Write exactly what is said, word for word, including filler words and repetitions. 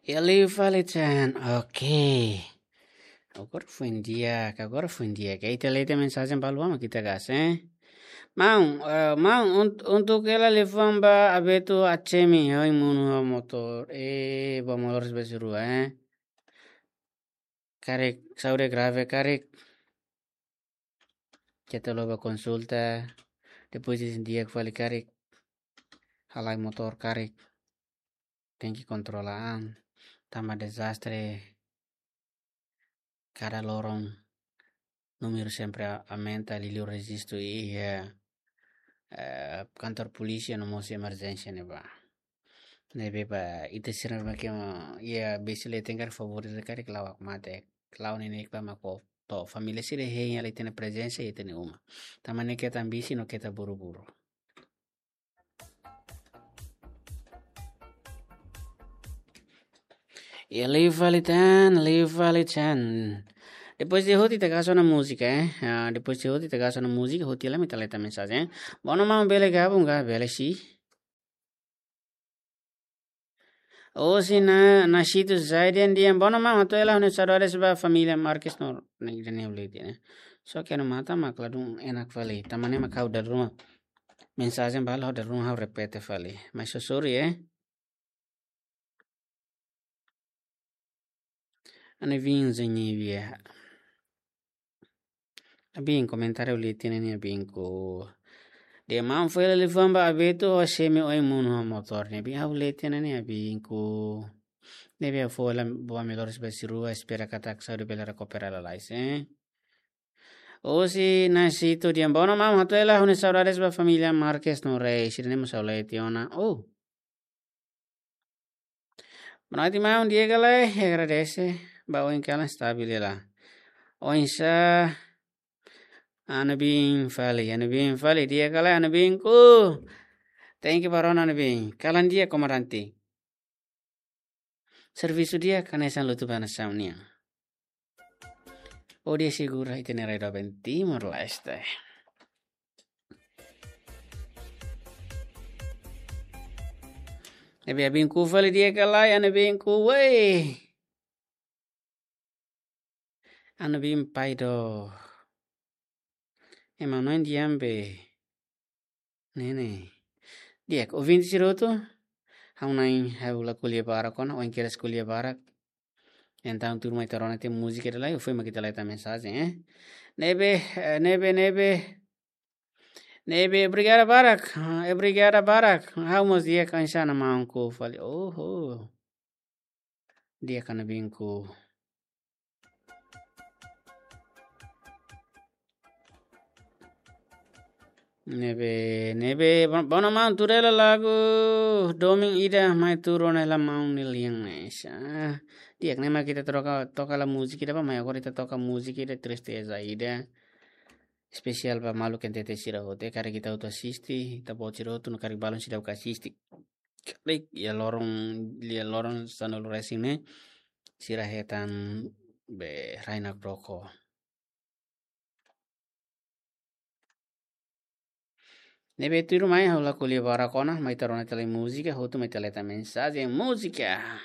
Iha liu fali tan. Oke. Agora foin di'ak, agora foin di'ak. Ita lee tiha mensajen balu mak ita gas, eh? Maun, eh, maun, un-, untuk hela liafuan ba Abeto Achemi, ohin monu ho motór. Eh, ba motór sebelas rua, eh? Karik, saúde grave, karik. Keta loba konsulta. Depois di'ak fali, karik. Halai motór, karik. Tenke kontrola an. Tanba dezastre. Kada loron númeru sempre a-, aumenta, liuliu rejistu iha, eh, kantor polísia no mós emerjénsia ne'ebá. Ne'ebé ba ita sira mak iha besi le tengar favor de karik la'o hakmatek. La'o ne'e ne'e ba mak to'o família sira hein hela ita-nia prezensa iha ita-nia uma. Tanba ne'e keta ambisi no keta buru-buru. Iha liu fali tan, liu fali tan. Depois de hotu ita gas ona múzika, eh? Ah, depois de hotu ita gas ona múzika, hotu hela mai ita lee tiha mensajen, eh? Bono maun bele gabung ka, bele si. Ohin na, Nasito Zaidan dehan bono maun, hato'o hela ha'u-nia saudades ba família Marques no, ne'e, ne'e ha'u lee tiha, eh? Só que no mata mak ladún enak fali. Tanba ne'e mak ha'u dala ruma mensajen balu ha'u dala ruma ha'u repete fali. Mas so sorry, eh? Ane vin zenye via. Abin komentáriu lee tiha ne'e abinku. Dehan maun fó hela liafuan ba Abeto Achemi ohin monu ho motór ne'e. Abin ha'u lee tiha ne'e abinku. Ne'ebé fó hela boa melhoras ba sira rua, espera katak saúde bele rekupera lalais, eh? Ohin Nasito dehan bono maun, hato'o hela ha'u-nia saudades ba família Marques no Rei. Sira-ne'e mós ha'u lee tiha ona. Oh. Boa noite maun, di'ak ka lae, agradese ba ohin kalan stabil hela. Oinsá, Anubin fali, Anubin fali, di'ak ka lae, Anubinku. Thank you ba rona, Anubin. Kalan di'ak, komandante. Servisu di'ak, hanesan lutu ba nasaun nian. Ó di'ak segura ita-nia rai doben Timor-Leste. Ne'ebé abinku fali, di'ak ka lae, Anubinku, wei. Anubin pai do. Ema no indian be. Ne'e ne'e. Di'ak, ouvinte sira hotu. Ha'u-nia, ha'u la ko'alia barak ona, ohin kedas ko'alia barak. Entaun tuirmai ita rona tiha múzika ida lai, foin mak ita lee tiha mensajen, eh. Ne'ebé, eh, ne'ebé, ne'ebé. Ne'ebé, obrigada barak. Ah, obrigada barak. Ha'u mós di'ak, oinsá ona maunku fali. Oho. Di'ak ka Anubinku. Ne'ebé, ne'ebé, bo-, bono maun, tuur hela lagu domin ida mai tuur ona hela maun nia lian ne'e. Ah, di'ak, ne'e mak ita toka, toka hela múzika ida ba, mai agora ita toka múzika ida tristeza ida. Espesiál ba maluk N T T sira hotu, eh, karik ita hotu asiste, ita-boot sira hotu no karik balun seidauk asiste. Karik iha loron, iha loron sanulu-resin ne'e, sira hetan be rai nakdoko. Ne'ebé tuirmai ha'u la ko'alia barak ona, mai ita rona tiha lai múzika, hotu mai ita lee tiha mensajen múzika.